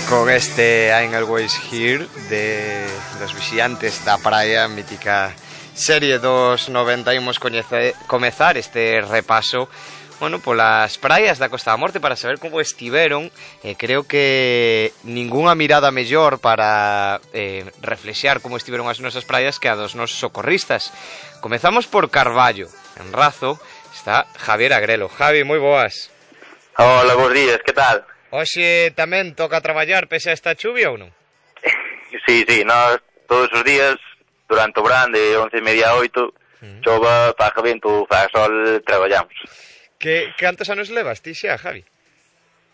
con este I'm Always Here de los vixiantes da praia, mítica serie dos 90. Imos comezar este repaso, bueno, polas praias da Costa da Morte para saber como estiveron. Creo que ningunha mirada mellor para reflexar como estiveron as nosas praias que a dos nosos socorristas. Comezamos por Carballo, en Razo está Javier Agrelo. Javi, moi boas. Hola, bons días, que tal? Hoxe tamén toca traballar pese a esta chuvia ou non? Sí, nós todos os días, durante o verán de 11:30 a 8, chova, faga vento, faga sol, traballamos. Cantos anos levas ti xa, Javi?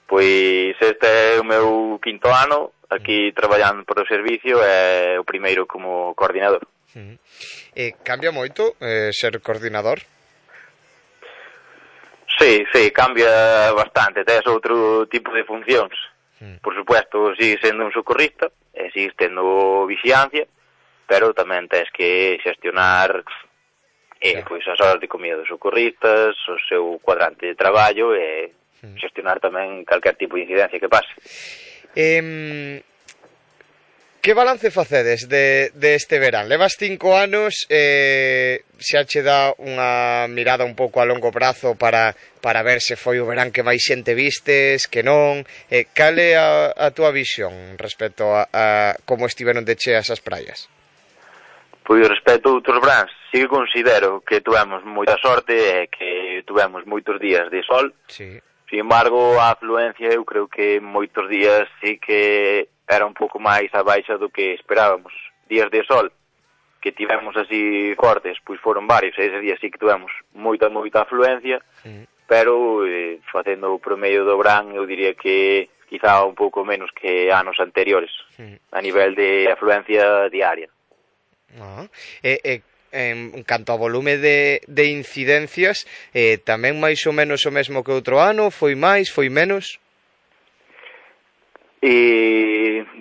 Pois este é o meu quinto ano aquí traballando por o servicio e o primeiro como coordinador. Cambia moito ser coordinador? Sí, cambia bastante, tes outro tipo de funcións. Por supuesto, sigues sendo un socorrista, e sigues tendo vixiancia, pero tamén tes que xestionar pois as horas de comida dos socorristas, o seu cuadrante de traballo e xestionar tamén calquer tipo de incidencia que pase. Que balance facedes deste verán? Levas 5 anos, xa che dá unha mirada un pouco a longo prazo para ver se foi o verán que máis xente vistes, que non. Cal é a túa visión respecto a como estiveron de cheas as praias? Pois respecto a outros veráns, sí que considero que tuvemos moita sorte e que tuvemos moitos días de sol. Sí. Sin embargo, a afluencia eu creo que moitos días sí que era un pouco máis a baixa do que esperábamos. Días de sol que tivemos así fortes, pois foron varios, e ese día sí que tivemos moita afluencia, pero facendo o promedio do verán eu diría que quizá un pouco menos que anos anteriores, a nivel de afluencia diaria. En canto ao volume de incidencias, tamén máis ou menos o mesmo que outro ano? Foi máis, foi menos?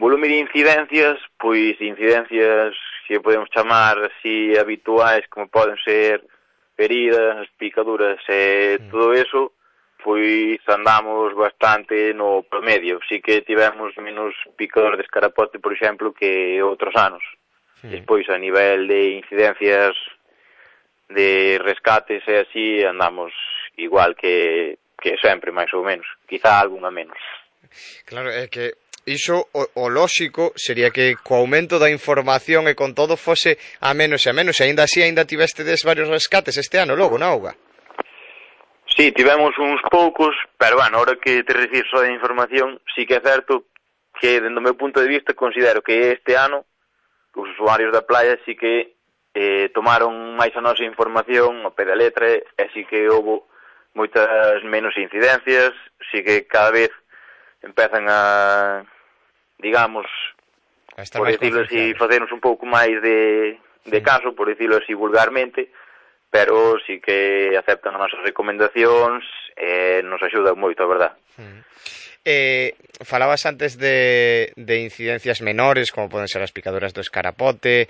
Volume de incidencias, pois incidencias que podemos chamar así habituais, como poden ser feridas, picaduras e todo eso, pois andamos bastante no promedio. Sí que tivemos menos picador de escarapote, por exemplo, que outros anos. Despois, a nivel de incidencias de rescates e así, andamos igual que sempre, máis ou menos. Quizá algunha menos. Claro, é que iso o lóxico sería que co aumento da información e con todo fose a menos e a menos, e aínda así tivestedes varios rescates este ano logo na auga. Sí, tivemos uns poucos, pero bueno, ahora que te refires só de información, sí que é certo que, dentro do meu punto de vista, considero que este ano os usuarios da playa sí que tomaron máis a nosa información ao pé da letra, e sí que houve moitas menos incidencias, sí que cada vez empezan a, digamos, por decirlo así, facernos un pouco máis de caso, por decirlo así vulgarmente, pero sí que aceptan as nosas recomendacións e nos axudan moito, a verdad. Falabas antes de incidencias menores, como poden ser as picaduras do escarapote,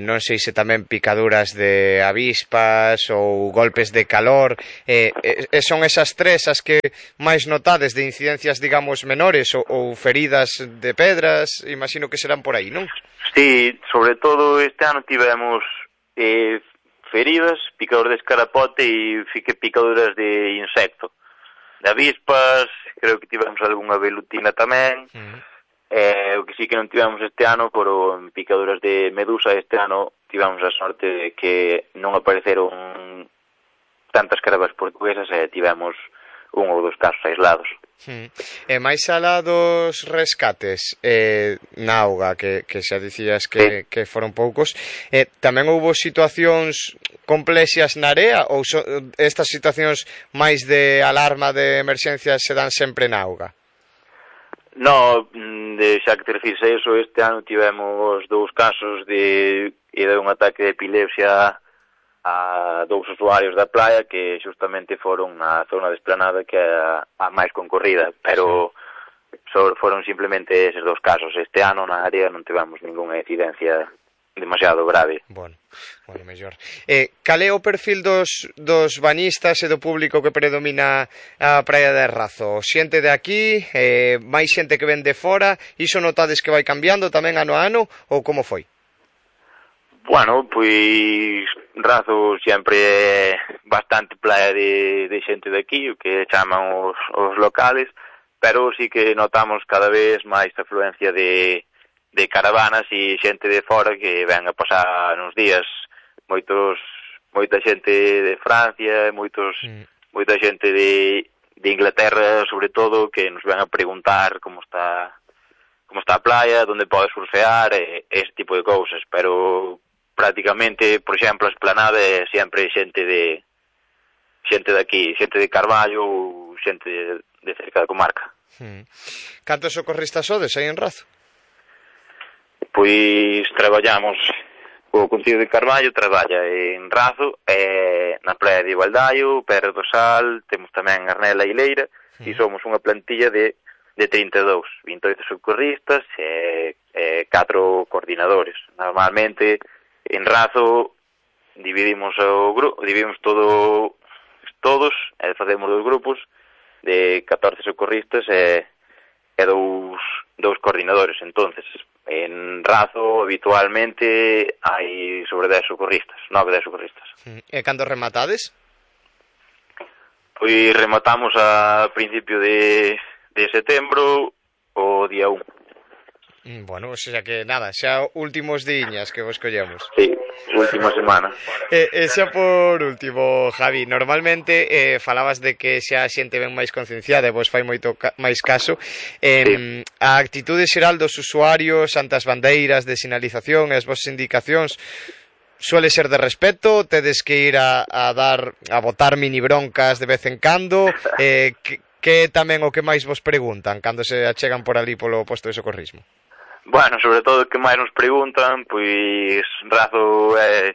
non sei se tamén picaduras de avispas ou golpes de calor, son esas tres as que máis notades de incidencias, digamos, menores ou feridas de pedras, imagino que serán por aí, non? Sí, sobre todo este ano tivemos feridas, picador de escarapote e picaduras de insecto. De avispas, creo que tivemos algunha velutina tamén. O que sí que non tivemos este ano foron picaduras de medusa. Este ano tivemos a sorte de que non apareceron tantas carabas portuguesas e tivemos un ou dos casos aislados. E máis alá dos rescates na auga, que xa dicías que foron poucos, tamén houbo situacións complexas na area, ou estas situacións máis de alarma de emerxencia se dan sempre na auga? No, xa que te refires a eso, este ano tivemos 2 casos de un ataque de epilepsia a 2 usuarios da playa que xustamente foron na zona de esplanada que é a máis concorrida, pero foron simplemente eses 2 casos. Este ano na área non tivemos ningunha incidencia demasiado grave. Bueno, mellor. Cal é o perfil dos bañistas e do público que predomina a praia de Razo? Xente de aquí, máis xente que ven de fora, iso notades que vai cambiando tamén ano a ano, ou como foi? Bueno, pois Razo sempre é bastante praia de xente de aquí, o que chaman os locales, pero sí que notamos cada vez máis afluencia de caravanas e xente de fora que ven a pasar uns días, moita xente de Francia, moita xente de Inglaterra, sobre todo, que nos ven a preguntar como está a playa, onde pode surfear, ese tipo de cousas, pero prácticamente, por exemplo, a esplanada é sempre xente de aquí, xente de Carballo ou xente de cerca da comarca. Cantos socorristas sodes aí en Razo? Pois traballamos, o Concello de Carballo traballa en Razo, na praia de Igualdaio, Pedra do Sal, temos tamén Arnela e Leira, e somos unha plantilla de 32, 28 socorristas e 4 coordinadores. Normalmente, en Razo, dividimos todos, e facemos 2 grupos de 14 socorristas e 2 coordinadores. Entonces, en Razo habitualmente hai sobre 10 socorristas, 9 socorristas. E cando rematades? Pois rematamos a principio de setembro o día 1. Bueno, o sea que nada, xa últimos diñas que vos collemos. Sí, última semana. E xa por último, Javi, normalmente falabas de que xa a xente ben máis concienciada e vos fai moito máis caso. Sí. A actitude xeral dos usuarios ante as bandeiras de sinalización e as vosas indicacións suele ser de respeto? Tedes que ir a botar mini broncas de vez en cando? Que tamén o que máis vos preguntan cando se achegan por ali polo posto de socorrismo? Bueno, sobre todo o que máis nos preguntan, pois Razo é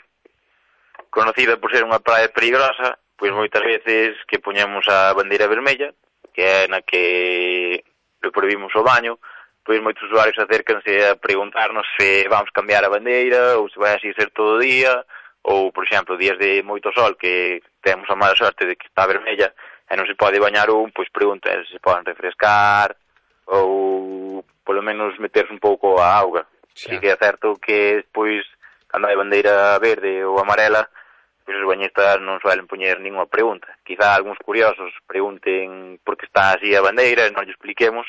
conocida por ser unha praia perigosa, pois moitas veces que poñemos a bandeira vermella, que é na que prohibimos o baño, pois moitos usuarios acércanse a preguntarnos se vamos cambiar a bandeira ou se vai así ser todo o día, ou, por exemplo, días de moito sol que temos a mala sorte de que está vermella e non se pode bañar pois preguntan se poden refrescar ou polo menos meterse un pouco a auga. Sí que é certo que pois cando hai bandeira verde ou amarela, pois os bañistas non suelen poñer ninguna pregunta. Quizá algúns curiosos pregunten por que está así a bandeira e non lle expliquemos,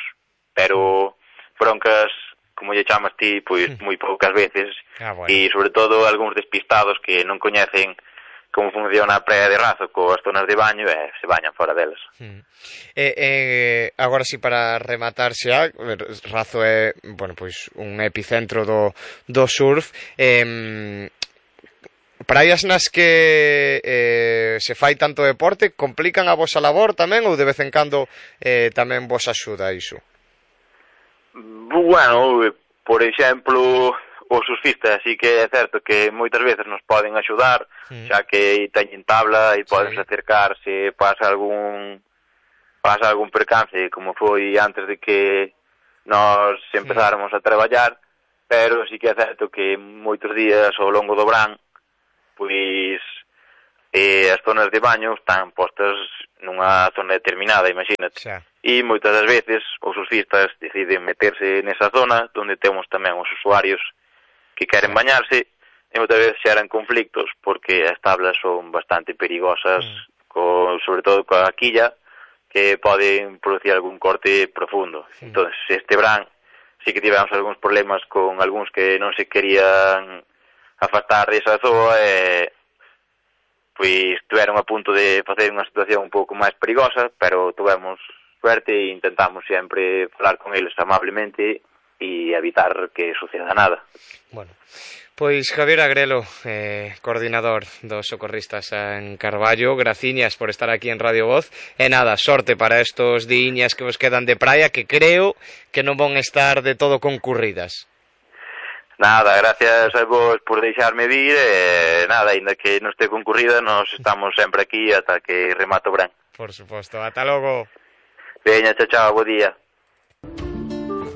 pero broncas, como lle chamas ti, pois moi poucas veces, e sobre todo algúns despistados que non coñecen como funciona a praia de Razo coas zonas de baño e se bañan fora delas. Agora si para rematar xa, Razo é, bueno, pois un epicentro do surf. Praias nas que se fai tanto deporte complican a vosa labor tamén ou de vez en cando tamén vos axuda iso? Bueno, por exemplo, os surfistas sí que é certo que moitas veces nos poden axudar, xa que teñen tabla e poden acercar se pasa algún percance, como foi antes de que nós empezáramos a traballar, pero sí que é certo que moitos días ao longo do verán, pois as zonas de baño están postas nunha zona determinada, imagínate. E moitas das veces os surfistas deciden meterse nesa zona onde temos tamén os usuarios que queren bañarse e moitas veces xeran conflictos porque as tablas son bastante perigosas, sobre todo coa quilla, que poden producir algún corte profundo. Entón, este verán sí que tivemos algúns problemas con algúns que non se querían afastar desa zoa e pois estiveron a punto de facer unha situación un pouco máis perigosa, pero tivemos suerte e intentamos sempre falar con eles amablemente e evitar que suceda nada. Bueno, pois Javier Agrelo, coordinador dos socorristas en Carballo, graciñas por estar aquí en Radio Voz, e nada, sorte para estos diñas que vos quedan de praia, que creo que non van estar de todo concurridas. Nada, gracias a vos por deixarme vir, e nada, ainda que non este concurrida, nos estamos sempre aquí ata que remato o verán. Por suposto, ata logo. Veña, chao, bo día.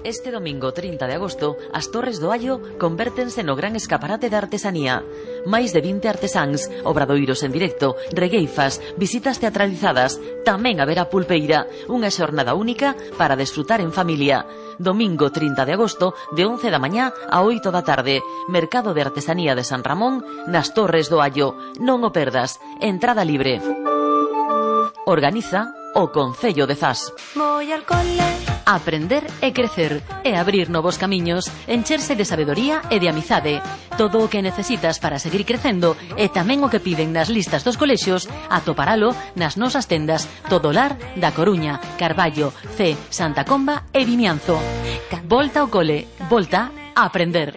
Este domingo 30 de agosto, as Torres do Allo convértense no gran escaparate de artesanía. Máis de 20 artesáns, obradoiros en directo, regueifas, visitas teatralizadas, tamén haberá pulpeira, unha xornada única para desfrutar en familia. Domingo 30 de agosto, de 11 da mañá a 8 da tarde, Mercado de Artesanía de San Ramón, nas Torres do Allo. Non o perdas, entrada libre. Organiza o Concello de Zas. Voy al cole. Aprender e crecer e abrir novos camiños, encherse de sabedoría e de amizade. Todo o que necesitas para seguir crecendo e tamén o que piden nas listas dos colexios, atoparalo nas nosas tendas Todolar da Coruña, Carballo, C, Santa Comba e Vimianzo. Volta ao cole, volta a aprender.